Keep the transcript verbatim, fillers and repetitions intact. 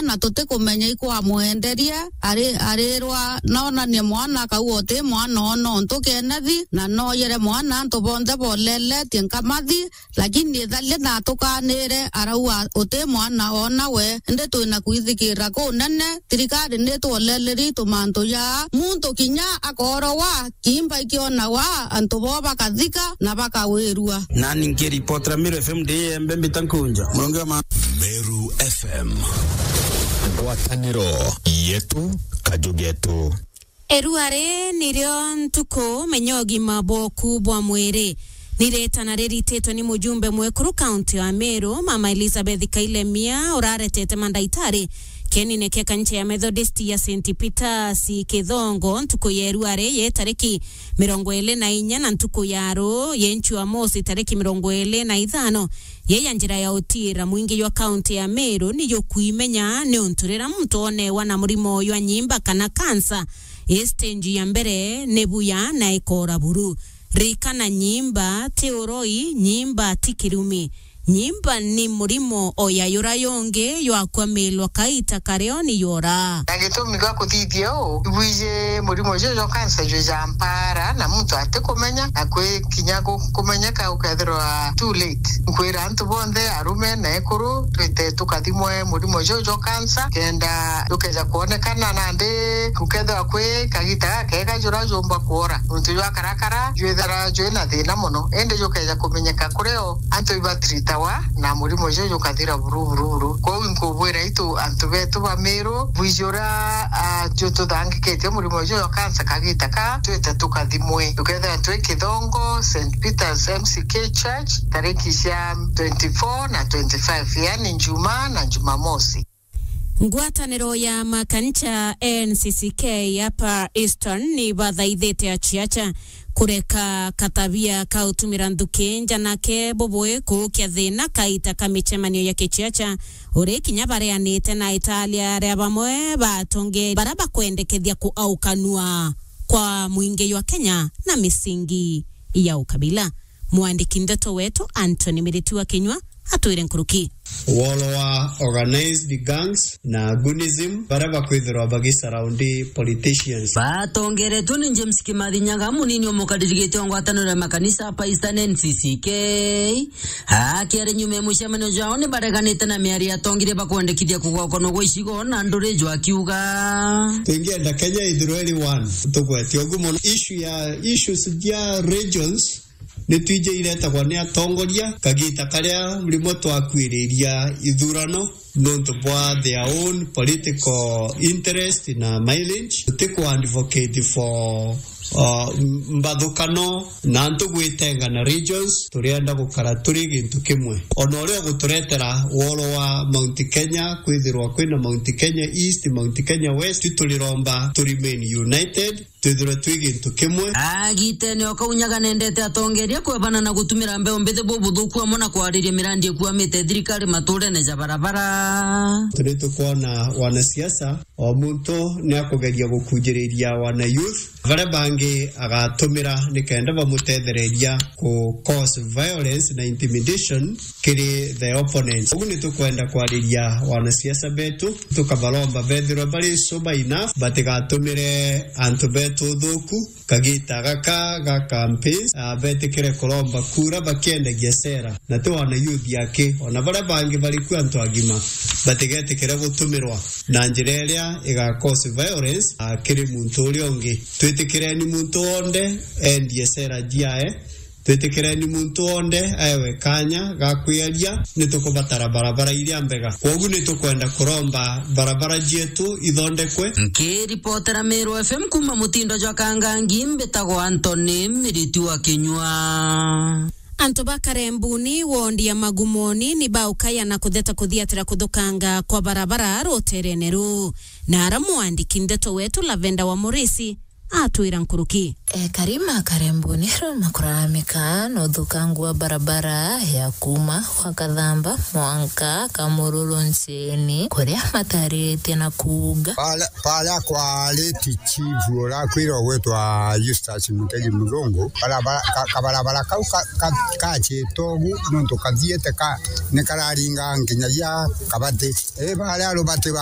na tutikumenya ikwamwenderie, ari-, arirwa nonanie mwana, akauga uti mwana oo nontu Kenethi, na nooyere mwana antu bonthe boleletie nkamathi, lakini itharia natukanire, arauga uti mwana oo nawe, indi twina kwithikirira kunene, thirikari nitwoleleri tumantu ja muntu kinya akoorogwa, kiimba ikionagwa, antu bo bakathika na bakawirua. Nani nkiripotera Meru F M ndi Embe mbita Nkunja. Murongo wa ma- Meru F M. Ngwataniro yetu, kaju getu. Erua ri nirio ntuku, menya ugima bwoku bwa mwiri. Ni ritana rirititwe ni mujumbe mwekuru kaunti ya Meru, Mama Elizabeth Kailemia, uraretete mandaitari kienine kia kanisa ya Methodist ya Saint Peter's Kithongo ntuku ya erua ri ye tariki mirongo iri na inya na ntuku ya ru ye Jumamosi tariki mirongo iri na ithano. Ye ya njira ya utiira, mwingi jwa kaunti ya Meru ni jukwimenya niuntu riria muntu onewa na murimo jwa nyimba kana kansa, i stage ya mbere ni buya na ikora buru. Ririkana, nyimba ti uroi, nyimba ti kirumi. Nyimba ni murimo o ya yura yungi jwa kwamilwa kaita kario ni yora. Na gitumi gwa kuthithia uu, ibwiji murimo juju jwa kansa jwi ja mpara na muntu atikumenya, na kwi kinya gu-, kumenyeka ukethirwa too late. Nkwira antu bonthe, arume na ekuru, twite tukathimwe murimo juju jwa kansa, kenda jukeja kwonekana nandi gukethirwa kwi kagita gakega jura jumba kwora. Nontu jwa karakara jwithira jwi na thina mono, indi jukeja kumenyeka kuri o, antu ibatiritawa na murimo juju jukathira buru, buru, buru. Kwou inkubwira itu antu betu ba Meru, bwiji uria, ah, jututhangikitie murimo juju jwa kansa kagita ka, twite tukathimwe. Tukethira twi Kithongo, Saint Peter's M C K Church, tariki cia twenty-four na twenty-five, yani Njumaa na Jumamosi. Ngwataniro ya makanisa N C C K hapa Eastern ni bathaithite aciaca kureka katabia ka utumira nthuki nja, nake bubui kuukia thina kaita ka micemanio ya kiciaca, uri kinya bareanite na italia ria bamwe ba atongeri bara bakwendekethia kuaukanua kwa mwingi jwa Kenya na misingi ya ukabila. Mwandiki ndeto wetu Anthony Miritu wa Kinyua atwire nkuruki. Wolo wa organized gangs na goonism, baria bakwithirwa bagisurround politicians. Batongeretwe ni James Kimathi Nyaga, munini o mukariri giti wa ngwataniro ya makanisa hapa Eastern N C C K. Akiaria nyuma ya mucemanio jwao, ni bareganite na miario ya atongeri bakwendekithia kugwakanwa gwa icigo na nduri jwa kiuga. Twingienda Kenya ithirwe iri one, tugwete ugu mono. Issue ya, issues cia regions ni twiji iretagwa ni atongoria kagita karia rimwe twakuiriria ithurano nontu bwa their own political interest na mileage. Tutiku advocate for, uh, m-, mbathukano na antu gwitenga na regions. Turienda gukara turi gintu kimwe. Ona uria uguturetera woro wa Mount Kenya, kwithirwa kwina Mount Kenya East, Mount Kenya West, turiromba tu remain united. Twithirwe twi gintu kimwe. Agitene o kau Nyaga nendete atongeria kwebana na gutumira mbeu mbithi bubuthuku amwe na kwariria mirandi ikuamite thirikari maturene ja barabara. Turi tukwona wanasiasa, o muntu ni akugeria gukunjiriria wana youth. Baria bangi agatumira ni kenda bamutethereria ku cause violence na intimidation kiri the opponents. Ugu ni tukwenda kwariria wanasiasa betu, tukabaromba bethirwe bari sober enough, batigatumire antu betu uthuku kagita gaka ga campaigns, ah, betikire kuromba kura bakiendagia sera, na ti wana youth aki, ona baria bangi bari ku antu agima, batigetikire gutumirwa na njira iria iga cause violence, ah, kiri muntu uria ungi. Twitikireni muntu wonthe endie sera ciae, twitikireni muntu wonthe aewe kanya ga kwiaria, ni tukubatara barabara iria mbega. Kwogu ni tukwenda kuromba barabara cietu ithondekwe. Nkiripotera Meru F M kuma mutindo jwa Kangangi, mbitagwa Anthony Miriti wa Kinyua. Antu ba Karembuni, wondi ya Magumoni, ni baukaya na kutheta kuthiatira kuthukanga kwa barabara ruterene ruu. Na ara mwandiki ndeto wetu Lavenda wa Murisi atwira nkuruki. Ekari ma Karembuni riu makuraramika na uthukangu wa barabara ya kuma gwa Kathamba mwanka Kamururu Nceni, kuria mataritie na kuuga. Pala, pala kwa late chief urakwirwa gwitwa Eustace Mutegi Murungu, barabara, ka, kabarabara kau ka, ka, kacitwe ugu nontu kathiete ka, ni kararinga nginyagia Kabati. I baria rubati ba